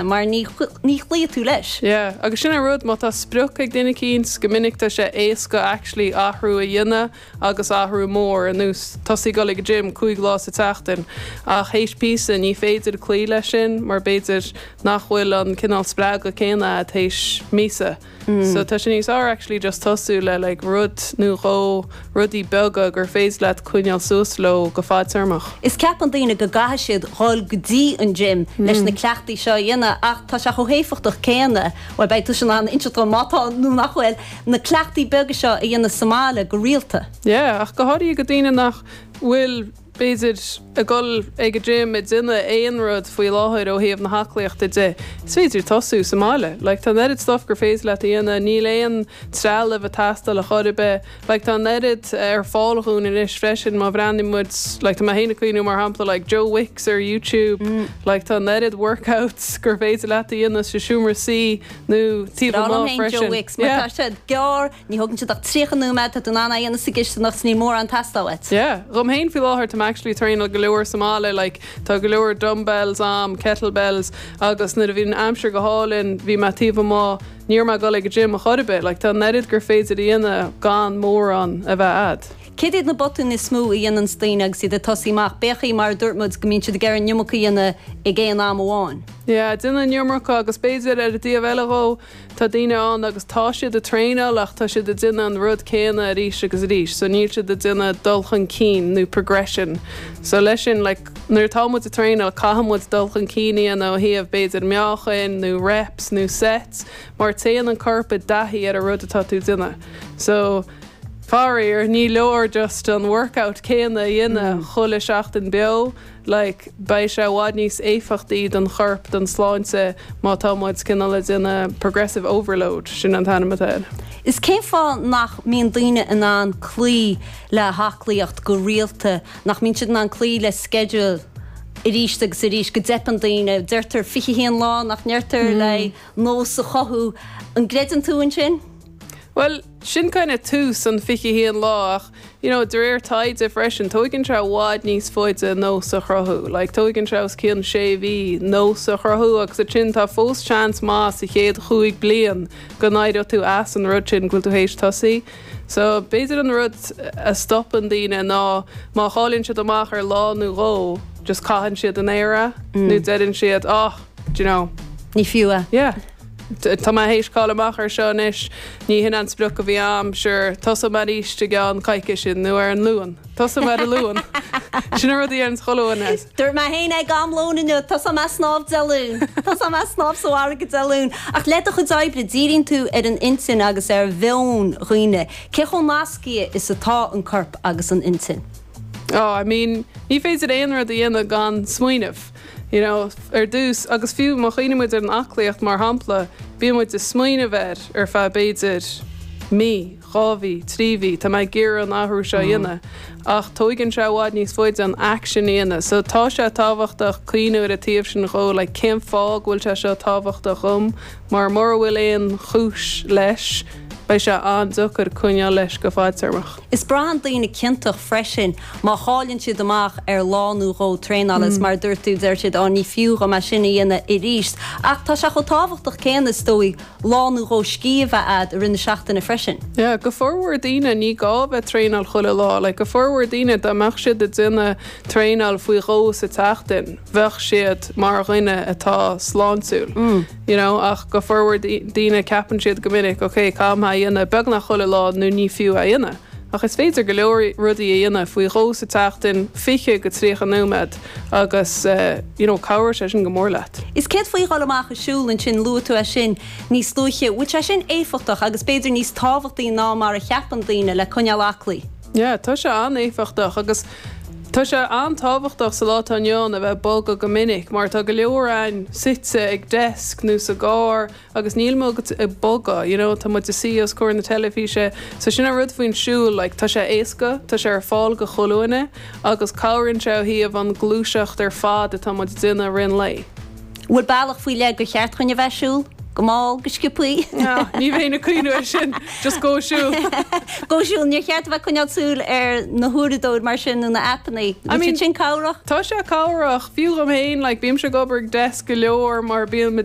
Mar ní chloífidh tú leis. Yeah, agus sin an rud, má tá sprioc ag duine eicínt, go minic tá sé éasca actually athrú a dhéanamh agus athrú mór, ar nós tosaí ag dul ag an gym 5 lá sa tseachtain, ach théis píosa ní féidir cloí leis sin mar b'fhéidir nach bhfuil an cineál spreagadh céanna a'd théis míosa. So tá sé níos fearr actually just tosú le like rud nó dhó, rudaí beaga gur féidir leat coinneáil suas leo go fadtéarmach. Is ceapann daoine go gcaithfidh siad dhul go dtí an gym leis na cleachtaí seo a dhéanamh ach tá sé chomh héifeachtach céanna, bhuel beidh tusa in ann inseacht dom má tá nó nach bhfuil, na cleachtaí beaga seo a dhéanamh sa mbaile go rialta. Yeah, ach go háirithe do daoine nach bhfuil b'fhéidir, ag dul ag an gym ag déanamh aon rud faoi láthair ó thaobh na haclaíochta de, is féidir tosú sa mbaile. Like, tá an oiread stuff gur féidir leat a dhéanamh, níl aon trealamh ag teastáil a chor ar bith. Like, tá an oiread ar fáil dhúinn anois freisin má bhreathnaíonn muid, like, tá mé féin ag cuimhniú mar shampla, like, Joe Wicks ar YouTube, like, tá an oiread workouts gur féidir leat a dhéanamh sa seomra suí nó taobh Is breá liom amuigh féin Joe freisin. Wicks mar Yeah. tá siad gearr, Ní thógann siad ach 30 nóiméad, tá tú in ann é a dhéanamh sa gcisteanach 's níl mórán ag teastáil uait. Yeah, dhom féin faoi láthair tá mé actually traenáil go leor sa mbaile like tá go leor dumbbells a'm, kettlebells agus nuair a bhí an aimsir go hálainn bhí mé taobh amuigh, ní raibh mé ag dul ag an gym a chor ar bith, like tá an oiread gur féidir a dhéanamh gan mórán a bheith a'd. Céard iad na botúin is mó a dhéananns daoine agus iad ag tosaí amach? B'fhéidir mar a dúirt muid go mbíonn siad ag iarraidh an iomarca a dhéanamh ag aon am amháin. Yeah, déanamh an iomarca agus b'fhéidir ar an dtaobh eile dhó, Tá daoine ann agus tá siad ag traenáil ach tá siad ag déanamh an rud céanna arís agus arís so níl siad ag déanamh dul chun cinn nó progression. So leis sin like nuair atá muid ag traenáil caithfidh muid dul chun cinn a dhéanamh ó thaobh b'fhéidir meáchain nó reps nó sets mar téann an corp i dtaithí ar an rud atá tú ag déanamh. So faraor ní leor just an workout céanna a dhéanamh chuile seachtain beo. like beidh sé i bhfad níos éifeachtaí don chorp, don sláinte má tá muid cineál ag déanamh progressive overload, sin an t-ainm atá air. Is cén fáth nach mbíonn daoine in ann cloí le haclaíocht go rialta, nach mbíonn siad in ann cloí le sceideal arís agus arís, go dteipeann daoine, deirtear 21 lá nach ndeirtear le nós a chothú, an gcreideann tú ansin? Bhuel, sin kind of tús an 21 lá ach you know de réir taighde freisin tóigeann sé i bhfad níos faide nós a chruthú. Like tóigeann sé os cionn sé mhí nós a chruthú agus ansin tá fós seans maith sa chéad chúig bliain go n-éireoidh tú as an rud sin go bhfuil tú théis tosaí. So b'fhéidir an rud a stopann daoine ná má chailleann siad amach ar lá nó dhó just caitheann siad in aer é nó deireann siad oh do you know. Ní fiú é. Yeah. Tá mé théis cailleadh amach ar seo anois, ní hin an sprioc a bhí a'm, sure, tosóidh mé arís i gceann coicíse nó ar an Luan. Tosóidh mé ar an Luan. Sin an rud a deireanns chuile dhuine. Dúirt mé féin ag am lóin inniu, tosóidh mé ag snámh Dé Luain. Tosóidh mé ag snámh sa bhfarraige Dé Luain. Ach le do chuid oibre, díríonn tú ar an intinn agus ar mheon dhaoine. Cé chomh nasctha is atá an corp agus an intinn? Oh, I mean, ní féidir aon rud a dhéanamh gan smaoineamh. You know, ar dtús, agus fiú má chuimhníonn muid ar an aclaíocht mar shampla, bíonn muid ag smaoineamh air ar feadh b'fhéidir mí, 2 mhí, 3 mhí, tá mé ag iarraidh an athrú seo a dhéanamh. Ach tóigeann sé i bhfad níos faide an action a dhéanamh. So tá sé tábhachtach cuimhniú ar an taobh sin dhó, like cén fáth go bhfuil sé seo tábhachtach dhom, mar mura bhfuil aon chúis leis, beidh sé an-deacair coinneáil leis go fadtéarmach. Is braitheann daoine ciontach freisin má chailleann siad amach ar lá nó dhó traenála is mar a dúirt tú, deir siad, 'Á, ní fiú dhom é sin a dhéanamh arís. Ach tá sé chomh tábhachtach céanna, is dóigh, lá nó dhó scíth a bheith a'd i rith na seachtaine freisin. Yeah, go formhór daoine, ní gá a bheith traenáil chuile lá. Like, go formhór daoine, dá mbeadh siad ag déanamh traenáil faoi dhó sa tseachtain, bheadh siad mar dhuine atá sláintiúil. You know, ach go formhór daoine ceapann siad go minic, ok, caithfidh mé é a dhéanamh beagnach chuile lá nó ní fiú é a dhéanamh. Ach is féidir go leor rudaí a dhéanamh faoi dhó sa tseachtain, 20-30 nóiméad agus you know, cabhróidh sé sin go mór leat. Is céard faoi dhul amach ag siúl ansin, luaigh tú é sin níos luaithe, bhfuil sé sin éifeachtach agus b'fhéidir níos tábhachtaí ná mar a cheapann daoine le coinneáil aclaí? Yeah, tá sé an-éifeachtach agus tá sé an-tábhachtach sa lá atá inniu ann a bheith ag bogadh go minic mar tá go leor againn suite ag desk nó sa gcarr agus níl muid ag bogadh, you know, tá muid ag suí os comhair na teilifíse. So sin an rud faoin siúl, like, tá sé éasca, tá sé ar fáil go chuile dhuine agus cabhraíonn sé ó thaobh an gluaiseacht ar fad atá muid ag déanamh i rith an lae. Bhfuil bealach faoi leith gur cheart dhuinn a bheith ag siúl? Go mall, go sciobthaí. Ní bheinn ag cuimhniú air sin, just gabh ag siúl. Gabh ag siúl, níor cheart a bheith ag coinneáil súil ar na huaireadóir mar sin nó na aipeanna. I mean, sin cabhrach? Tá sé cabhrach, fiú dhom féin, like, bímse ag obair ag desk go leor mar bíonn mo.